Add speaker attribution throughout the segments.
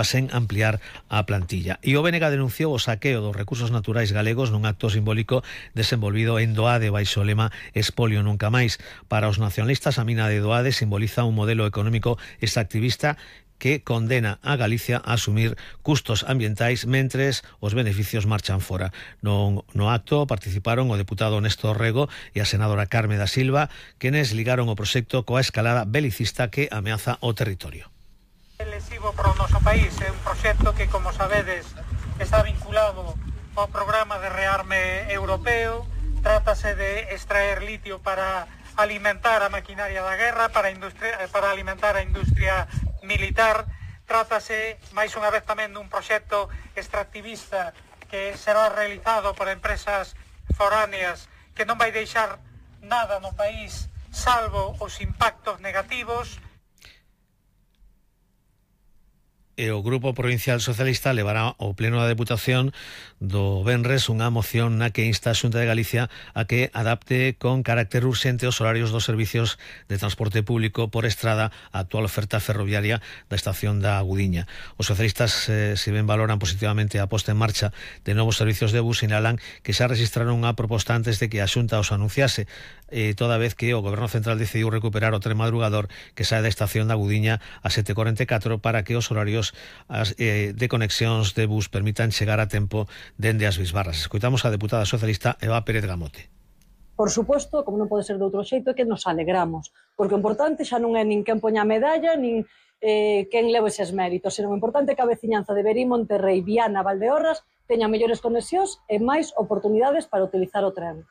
Speaker 1: sen ampliar a plantilla. E o BNG denunciou o saqueo dos recursos naturais galegos nun acto simbólico desenvolvido en Doade baixo o lema Espolio nunca máis. Para os nacionalistas, a mina de Doade simboliza un modelo económico extractivista que condena a Galicia a asumir custos ambientais mentres os beneficios marchan fora. No acto participaron o deputado Néstor Rego e a senadora Carme da Silva, quenes ligaron o proxecto coa escalada belicista que ameaza o territorio.
Speaker 2: Lesivo para o noso país é un proxecto que, como sabedes, está vinculado ao programa de rearme europeo. Trátase de extraer litio para alimentar a maquinaria da guerra, para alimentar a industria militar. Trátase, máis unha vez, tamén dun proxecto extractivista que será realizado por empresas foráneas que non vai deixar nada no país salvo os impactos negativos.
Speaker 1: E o Grupo Provincial Socialista levará ao Pleno da Deputación do venres unha moción na que insta a Xunta de Galicia a que adapte con carácter urxente os horarios dos servicios de transporte público por estrada a actual oferta ferroviaria da estación da Agudiña. Os socialistas, se ben valoran positivamente a posta en marcha de novos servicios de bus, sinalan que xa registraron unha proposta antes de que a Xunta os anunciase, toda vez que o Goberno Central decidiu recuperar o tren madrugador que sae da estación da Agudiña a 7:44 para que os horarios de conexións de bus permitan chegar a tempo dende as Bisbarras. Escoitamos a deputada socialista Eva Pérez Gamote.
Speaker 3: Por suposto, como non pode ser de outro xeito, é que nos alegramos, porque o importante xa non é nin quen poña a medalla, nin quen leve eses méritos, senón o importante é que a veciñanza de Verín, Monterrei, Viana, Valdeorras teña mellores conexións e máis oportunidades para utilizar o tren.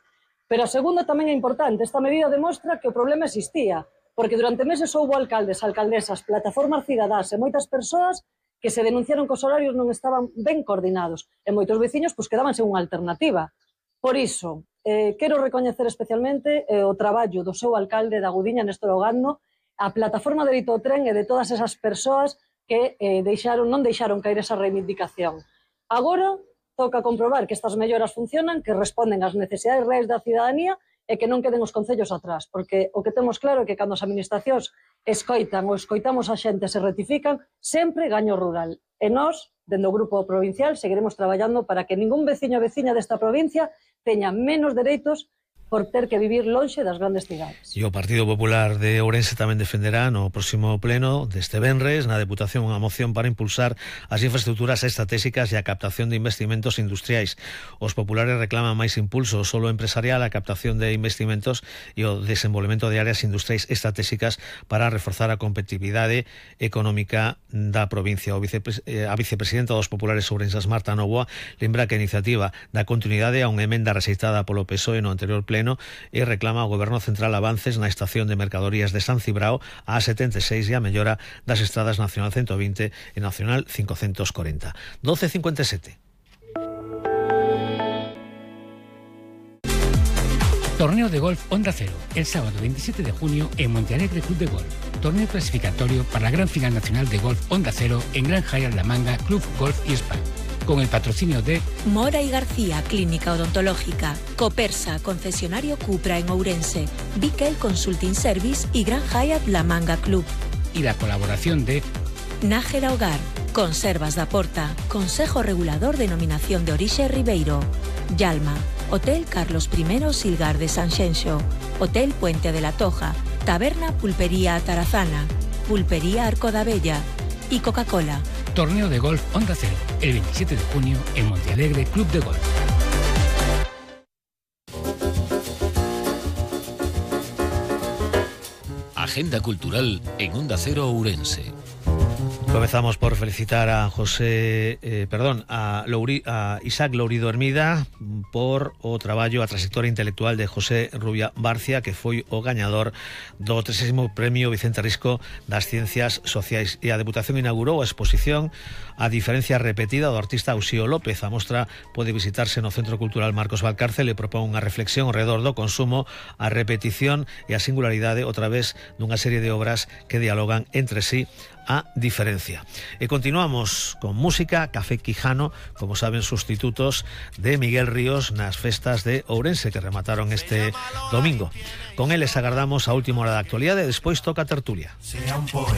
Speaker 3: Pero a segunda tamén é importante. Esta medida demostra que o problema existía, porque durante meses houbo alcaldes, alcaldesas, plataformas cidadás e moitas persoas que se denunciaron que os horarios non estaban ben coordinados e moitos veciños quedaban sen unha alternativa. Por iso, quero recoñecer especialmente o traballo do seu alcalde da Agudiña, Néstor Ogando, a plataforma de Dito Tren e de todas esas persoas que non deixaron caer esa reivindicación. Agora toca comprobar que estas melloras funcionan, que responden ás necesidades reais da cidadanía e que non queden os concellos atrás, porque o que temos claro é que cando as administracións escoitan ou escoitamos a xente se rectifican, sempre gaño rural. E nós, dende o Grupo Provincial, seguiremos traballando para que ningún veciño ou veciña desta provincia teña menos dereitos por ter que vivir lonxe das grandes cidades.
Speaker 1: E o Partido Popular de Ourense tamén defenderá no próximo pleno deste venres na Deputación unha moción para impulsar as infraestructuras estratégicas e a captación de investimentos industriais. Os populares reclaman máis impulso solo empresarial á captación de investimentos e o desenvolvemento de áreas industriais estratégicas para reforzar a competitividade económica da provincia. A vicepresidenta dos populares ourenses, Marta Novoa, lembra que a iniciativa da continuidade a unha emenda rexeitada polo PSOE no anterior pleno e reclama ao Goberno Central avances na estación de mercadorías de San Cibrao a 76 e a mellora das estradas Nacional 120 e Nacional 540. 12:57.
Speaker 4: Torneo de golf Onda Cero, el sábado 27 de junio en Montealegre Club de Golf. Torneo clasificatorio para la Gran Final Nacional de Golf Onda Cero en Gran Hyatt La Manga Club Golf y Spa. Con el patrocinio de
Speaker 5: Mora y García, Clínica Odontológica, Copersa, concesionario Cupra en Ourense, Bikel Consulting Service y Gran Hyatt La Manga Club.
Speaker 4: Y la colaboración de
Speaker 5: Nájera Hogar, Conservas da Porta, Consejo Regulador Denominación de Orixe Ribeiro, Yalma, Hotel Carlos I Silgar de Sanxenxo, Hotel Puente de la Toja, Taberna Pulpería Tarazana, Pulpería Arco da Bella y Coca-Cola.
Speaker 4: Torneo de golf Onda Cero, el 27 de junio en Montealegre Club de Golf.
Speaker 6: Agenda cultural en Onda Cero Ourense.
Speaker 1: Comezamos por felicitar a Isaac Lourido Hermida por o traballo, a trayectoria intelectual de José Rubia Barcia, que foi o gañador do 30º Premio Vicente Risco das Ciencias Sociais. E a Deputación inaugurou a exposición A diferencia repetida do artista Uxío López. A mostra pode visitarse no Centro Cultural Marcos Valcárcel e propón unha reflexión ao redor do consumo, a repetición e a singularidade a través dunha serie de obras que dialogan entre sí a diferencia. E continuamos con música. Café Quijano, como saben, sustitutos de Miguel Ríos nas festas de Ourense que remataron este domingo. Con eles agardamos a última hora da actualidade e despois toca a tertulia.